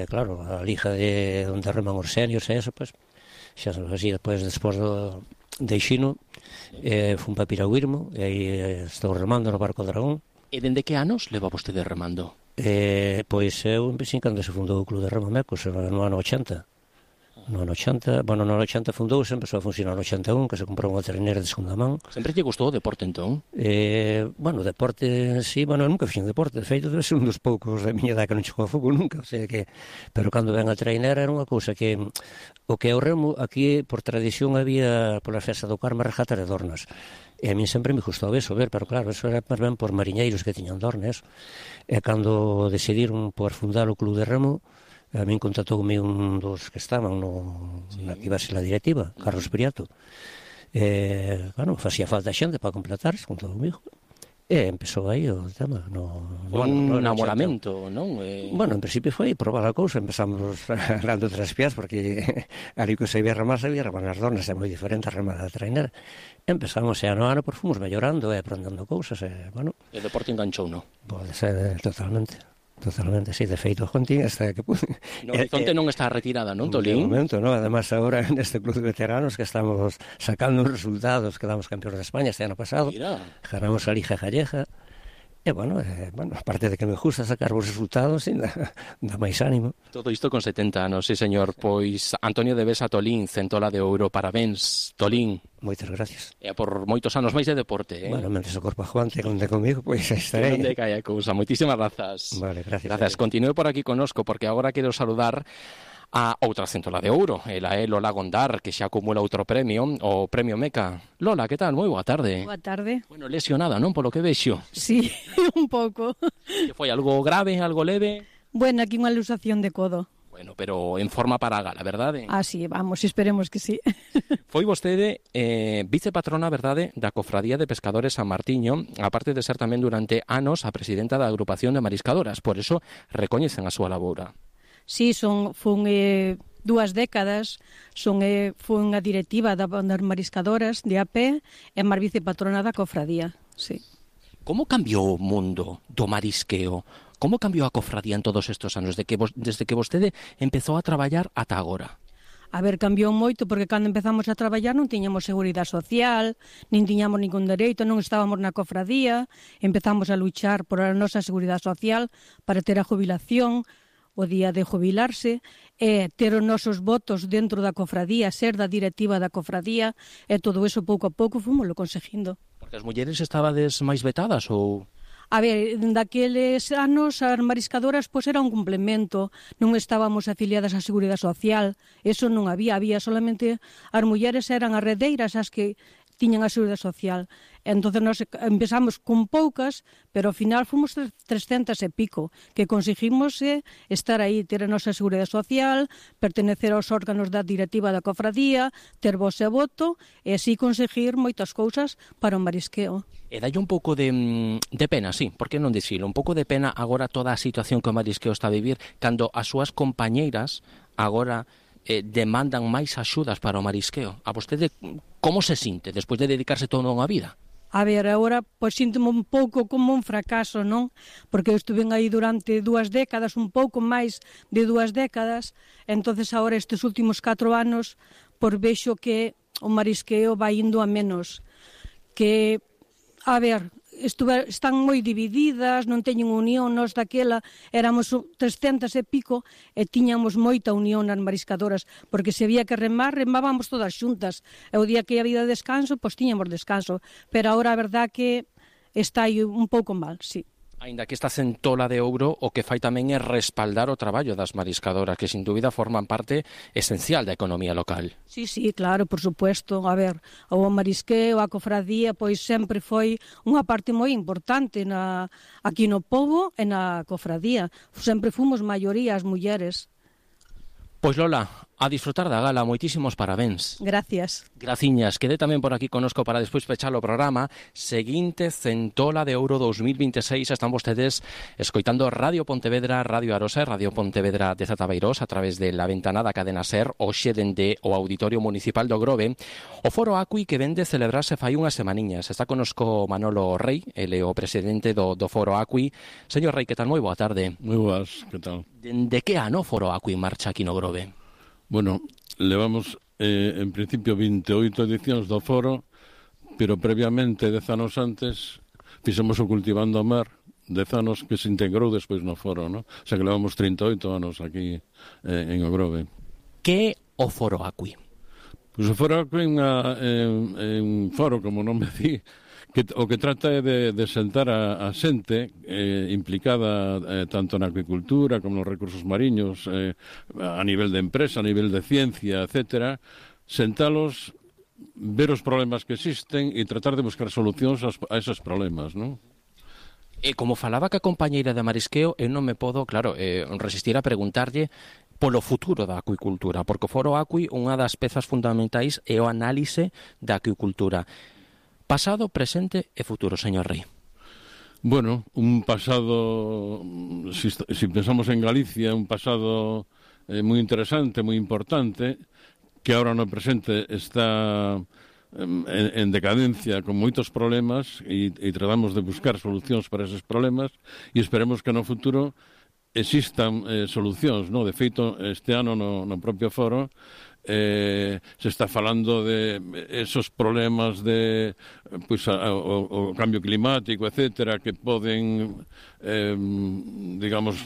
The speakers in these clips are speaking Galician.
Claro, a liga de onde reman os seniors e eso, pues, xa así, despois de Xino, fun para Piragüirmo, e aí estou remando no barco Dragón. E dende que anos leva vostede remando? Pois eu empecé cando se fundou o Club de Remo Mecos, no ano 80. No ano 80, bueno, no ano 80 fundouse, empezou a funcionar no 81, que se comprou unha trainera de segunda man. Sempre lle gustou o deporte, entón? Bueno, deporte, sí, bueno, eu nunca fixen deporte, de feito, debe ser un dos poucos da miña edad que non chegou a fútbol nunca, o sea que, pero cando ven a trainera era unha cousa que, o que é o remo, aquí, por tradición, había, pola festa do Carme, regatas de dornas. E a mí sempre me gustou eso, ver, pero claro, eso era máis ben por mariñeiros que tiñan dornes. E cando decidiron por fundar o Club de Remo, a min contactoume un dos que estaban na que iba a ser a directiva, Carlos Priato. Bueno, facía falta xente para completarse con todo comigo. E empezou aí o tema. Un namoramento, non? Bueno, en principio foi probar a cousa. Empezamos dando tres pias, porque ali que se sabía remar as dornas, é moi diferente a remar da trainera. Empezamos e ano a ano, fomos mellorando e aprendendo cousas. Bueno, E o deporte enganchou, non? Pode ser totalmente, sí, de feito, Jontín, hasta que pude. No horizonte non está retirada, non, Tolín? De momento, non, además agora neste club de veteranos que estamos sacando os resultados, quedamos campeóns de España este ano pasado. Mira. Ganamos a Liga Gallega. E, bueno, aparte de que me gusta sacar os resultados, dá máis ánimo. Todo isto con 70 anos, sí, señor. Pois Antonio de Besa Tolín, centola de ouro, parabéns, Tolín. Moitas gracias. E por moitos anos máis de deporte, Bueno, mentre o corpo aguante conte comigo, pois estarei. Que non decaia a cousa. Moitísimas grazas. Vale, gracias. Gracias. Continúe por aquí conosco, porque agora quero saludar a outra centola de ouro, ela é Lola Gondar, que xa acumula outro premio, o Premio Meca. Lola, que tal? Moi boa tarde. Boa tarde. Bueno, lesionada, non? Polo que vexo. Sí, un pouco. Que foi algo grave, algo leve? Bueno, aquí unha luxación de codo. Bueno, pero en forma para a gala, verdade? Ah, sí, vamos, esperemos que sí. Foi vostede vicepatrona, verdade, da Cofradía de Pescadores San Martiño, aparte de ser tamén durante anos a presidenta da agrupación de mariscadoras, por eso recoñecen a súa laboura. Sí, fun 2 décadas, fun a directiva das mariscadoras de AP e máis vicepatrona da cofradía, sí. Como cambiou o mundo do marisqueo? Como cambiou a cofradía en todos estes anos, desde que vostede empezou a traballar ata agora? A ver, cambiou moito, porque cando empezamos a traballar non tiñamos seguridade social, nin tiñamos ningún dereito, non estábamos na cofradía, empezamos a luchar por a nosa seguridade social para ter a jubilación, o día de jubilarse, e ter os nosos votos dentro da cofradía, ser da directiva da cofradía, e todo eso pouco a pouco fomoslo conseguindo. Porque as mulleres estabades máis vetadas ou... A ver, daqueles anos as mariscadoras pois era un complemento, non estábamos afiliadas á Seguridade Social, eso non había solamente as mulleres eran as redeiras as que tiñan a Seguridade Social. Entonces nós empezamos con poucas, pero ao final fomos 300 e pico, que conseguimos estar aí, ter a nosa Seguridade Social, pertenecer aos órganos da directiva da cofradía, ter voz e voto, e así conseguir moitas cousas para o marisqueo. E dalle un pouco de pena, sí, por que non dicilo? Un pouco de pena agora toda a situación que o marisqueo está a vivir, cando as súas compañeiras agora demandan máis axudas para o marisqueo. A vostede como se sinte despois de dedicarse toda unha vida? A ver, agora, pois síntome un pouco como un fracaso, non? Porque eu estuve aí durante 2 décadas, un pouco máis de 2 décadas, entonces agora estes últimos 4 anos, por vexo que o marisqueo vai indo a menos. Que, a ver, están moi divididas, non teñen unión, nós daquela éramos 300 e pico e tiñamos moita unión nas mariscadoras, porque se había que remábamos todas xuntas, e o día que había descanso, pois tiñamos descanso, pero agora a verdad que está aí un pouco mal, sí. Aínda que esta centola de ouro o que fai tamén é respaldar o traballo das mariscadoras, que sin dúbida forman parte esencial da economía local. Sí, claro, por supuesto. A ver, o marisqueo, a cofradía, pois sempre foi unha parte moi importante aquí no pobo e na cofradía. Sempre fomos maioría as mulleres. Pois Lola, a disfrutar da gala, moitísimos parabéns. Gracias. Graciñas, quedé tamén por aquí conosco para despois pechar o programa. Seguinte Centola de Ouro 2026, están vostedes escoitando Radio Pontevedra, Radio Arosa e Radio Pontevedra de Zatabeirós a través de la ventana da cadena SER, hoxe dende o Auditorio Municipal do Grove. O Foro Acui que vende celebrarse fai unhas semaniñas. Está conosco Manolo Rei, ele o presidente do Foro Acui. Señor Rei, que tal? Moi boa tarde. Moi boas, que tal? De que ano o Foro Acui marcha aquí no Grove? Bueno, levamos en principio 28 edicións do foro, pero previamente 10 anos antes fixemos o Cultivando a Mar, 10 anos que se integrou despois no foro, ¿no? O sea que levamos 38 anos aquí en o Grove. Que o Foro Acui? Pois o Foro Acui é un foro, como non me di, que o que trata é de sentar a xente implicada tanto na acuicultura como nos recursos mariños, a nivel de empresa, a nivel de ciencia, etcétera, sentalos, ver os problemas que existen e tratar de buscar solucións a esos problemas, non? E como falaba que a compañeira de marisqueo, eu non me podo, claro, resistir a preguntarlle polo futuro da acuicultura, porque o Foro Acui, unha das pezas fundamentais é o análise da acuicultura. Pasado, presente e futuro, señor Rei. Bueno, un pasado, si pensamos en Galicia, un pasado moi interesante, moi importante, que ahora no presente está en decadencia con moitos problemas e tratamos de buscar solucións para esos problemas e esperemos que no futuro existan solucións, ¿no? De feito, este ano no propio foro se está falando de esos problemas de pois, o cambio climático, etcétera, que poden digamos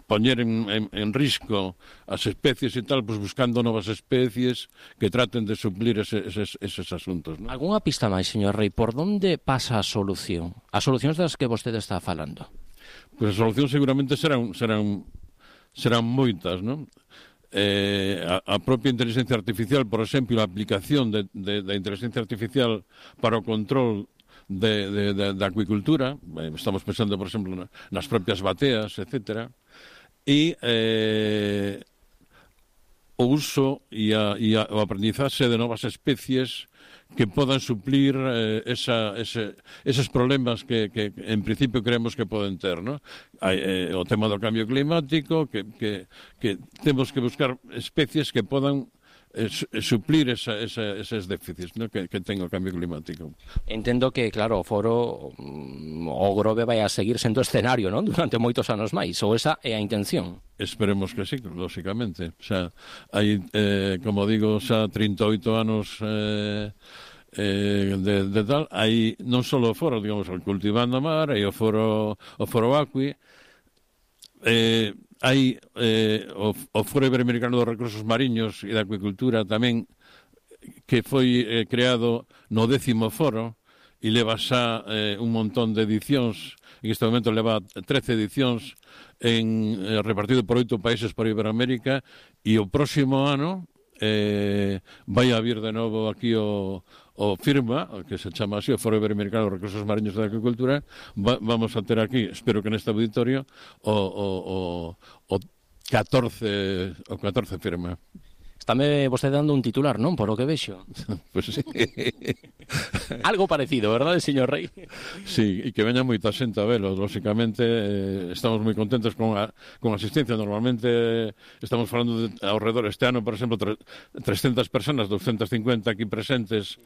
poñer en risco as especies e tal, pois buscando novas especies que traten de suplir eses asuntos, ¿no? Algúnha pista máis, señor Rei, por onde pasa a solución? As solucións das que vostede está falando? Pois as solucións seguramente serán moitas, non? A propia inteligencia artificial, por exemplo, a aplicación da inteligencia artificial para o control da acuicultura, estamos pensando, por exemplo, nas propias bateas, etcétera, e o uso e o aprendizaxe de novas especies que podan suplir eses problemas que en principio creemos que poden ter, ¿no? O tema do cambio climático, que temos que buscar especies que podan suplir eses déficits, ¿no? que ten o cambio climático. Entendo que, claro, o foro o Grove vai a seguir sendo escenario, non? Durante moitos anos máis, ou esa é a intención. Esperemos que sí, lóxicamente. O sea, hai, como digo, xa 38 anos de tal, hai non só o foro, digamos, o Cultivando a Mar, hai o foro Acui, hai o Foro Iberoamericano dos Recursos Mariños e da Acuicultura tamén, que foi creado no 10º foro e leva xa un montón de edicións. En este momento leva 13 edicións repartido por 8 países por Iberoamérica, e o próximo ano vai a vir de novo aquí o FIRMA, que se chama así, o Foro Iberoamericano dos Recursos Mariños e da Agricultura. Vamos a ter aquí, espero que neste auditorio, o 14 FIRMA. Estáme vostede dando un titular, non? Por o que vexo. Pues sí. Algo parecido, verdade, señor Rei? Sí, e que veña moita xente a velo. Lóxicamente, estamos moi contentos con asistencia. Normalmente estamos falando de ao redor este ano, por exemplo, 300 personas, 250 aquí presentes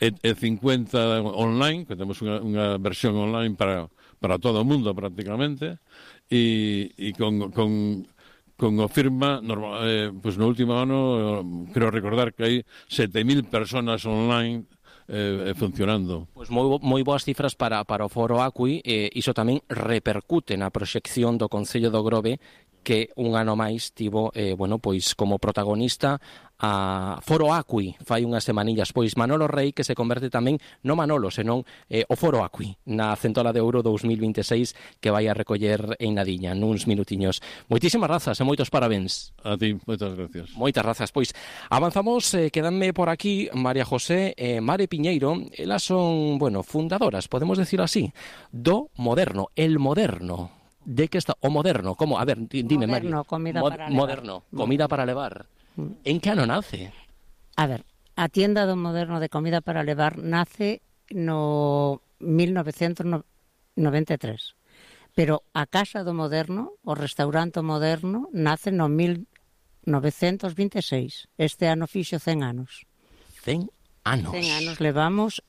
e 50 online, que temos unha versión online para todo o mundo prácticamente, e con o FIRMA, pues no último ano, creo recordar que hai 7.000 personas online funcionando. Pois moi boas cifras para o Foro Acui, e iso tamén repercute na proxección do Concello do Grove, que un ano máis tivo, pois como protagonista a Foro Acui, fai unhas semanillas, pois Manolo Rei, que se converte tamén, non Manolo, senón o Foro Acui, na Centola de Ouro 2026, que vai a recoller en Nadiña, nuns minutiños. Moitísimas grazas e moitos parabéns. A ti, moitas gracias. Moitas grazas. Pois avanzamos, quedanme por aquí María José e Mare Piñeiro. Elas son, fundadoras, podemos decir así, do Moderno, el Moderno. De que está o moderno, como? A ver, dime, Mari. Moderno, comida para levar. Moderno, comida para levar. En que ano nace? A ver, a tienda do Moderno de comida para levar nace no 1993. Pero a Casa do Moderno, o restaurante Moderno, nace no 1926. Este ano fixo 100 anos. 100 anos. 100 anos levamos.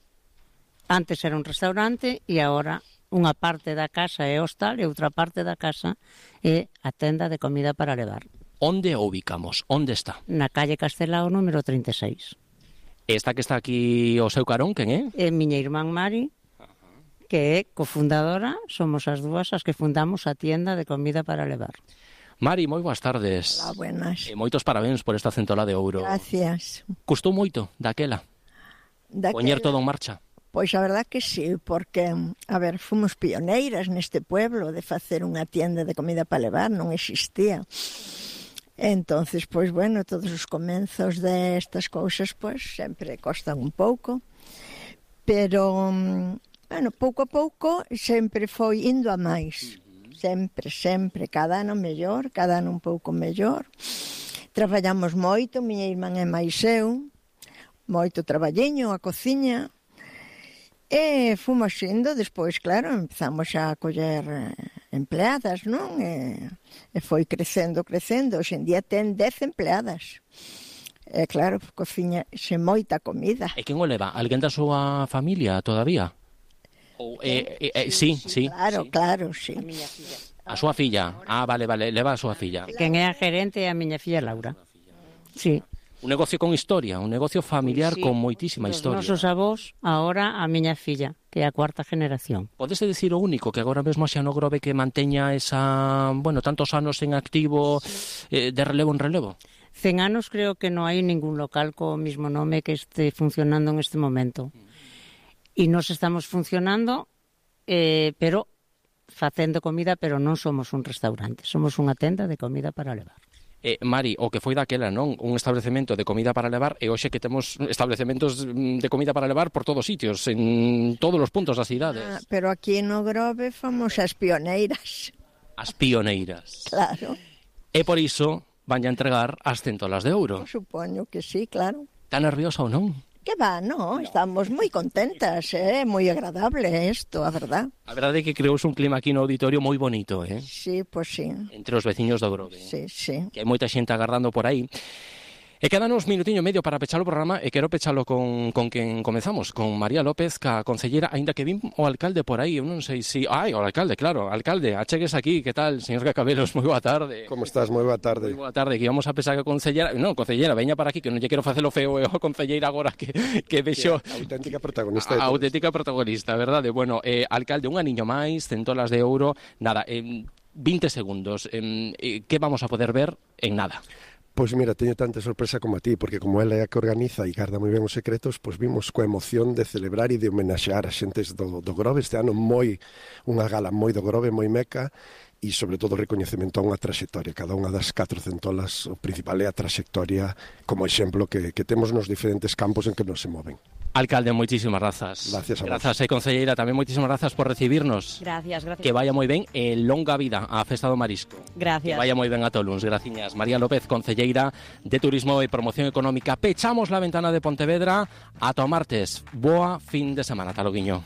Antes era un restaurante e agora unha parte da casa é hostal e outra parte da casa é a tenda de comida para levar. Onde o ubicamos? Onde está? Na calle Castelao número 36. Esta que está aquí o seu carón, quen é? É miña irmán Mari, que é cofundadora, somos as dúas as que fundamos a tienda de comida para levar. Mari, moi boas tardes. Hola, buenas. E moitos parabéns por esta centola de ouro. Gracias. Custou moito daquela? Poñer todo en marcha? Pois a verdad que sí, porque, a ver, fomos pioneiras neste pueblo de facer unha tienda de comida para levar, non existía. Entonces, pois, bueno, todos os comenzos destas cousas, pois, sempre costan un pouco, pero, bueno, pouco a pouco, sempre foi indo a máis. Sempre, cada ano mellor, cada ano un pouco mellor. Traballamos moito, miña irmán e máis eu, moito traballiño, a cociña, e fomos indo, despois, claro, empezamos a coller empleadas, non? E foi crecendo, hoxe en día ten 10 empleadas. E claro, cociña xe moita comida. E quen o leva? Alguén da súa familia todavía? Ou, sí. Claro, sí. A súa filla. Ah, vale, leva a súa filla. Quen é a gerente é a miña filla Laura. Sí. Un negocio con historia, un negocio familiar Sí, con moitísima dos historia. nosos avós, agora a miña filla, que é a cuarta generación. Podese dicir o único que agora mesmo xa no Grove que manteña esa, bueno, tantos anos en activo, de relevo en relevo? 100 anos creo que non hai ningún local co mismo nome que este funcionando en este momento. E nos estamos funcionando, pero facendo comida, pero non somos un restaurante, somos unha tenda de comida para levar. Mari, o que foi daquela, non? Un establecemento de comida para levar, e hoxe que temos establecementos de comida para levar por todos sitios, en todos os puntos das cidades. Pero aquí no Grove fomos as pioneiras. As pioneiras. Claro. E por iso van a entregar as centolas de ouro. Supoño que sí, claro. Está nerviosa ou non? Que va, no, estamos moi contentas, moi agradable isto, a verdad. A verdade é que creouse un clima aquí no auditorio moi bonito, Sí, pois sí. entre os veciños do Grove. Sí. Que hai moita xente agardando por aí. E quedan uns minutiño e medio para pechar o programa e quero pechalo con quen comezamos, con María López, ca concellera, aínda que vin o alcalde por aí, eu non sei si... Ai, o alcalde, claro, alcalde, achegues aquí, que tal, señor Cacabelos, moi boa tarde. Como estás? Moi boa tarde. Moi boa tarde, que íbamos a pensar que a concellera... Non, concellera, veña para aquí, que non lle quero facelo feo, a concelleira agora que vexo... Auténtica protagonista de A auténtica protagonista, verdade? Bueno, alcalde, un aniño máis, centolas de ouro, nada, 20 segundos, que vamos a poder ver en nada? Pois mira, teño tanta sorpresa como a ti, porque como ela é a que organiza e garda moi ben os secretos, pois vimos coa emoción de celebrar e de homenaxear a xentes do Grove este ano, unha gala moi do Grove, moi meca, e sobre todo recoñecemento a unha traxectoria. Cada unha das 4 centolas, o principal é a traxectoria como exemplo que temos nos diferentes campos en que nos se moven. Alcalde, moitísimas grazas. Gracias a vos. Grazas, concelleira, tamén moitísimas grazas por recibirnos. Gracias. Que vaya moi ben e longa vida á Festa do Marisco. Gracias. Que vaya moi ben a Toluns, graciñas. María López, concelleira de Turismo e Promoción Económica. Pechamos la ventana de Pontevedra. Ata o martes. Boa fin de semana. Ata loguiño.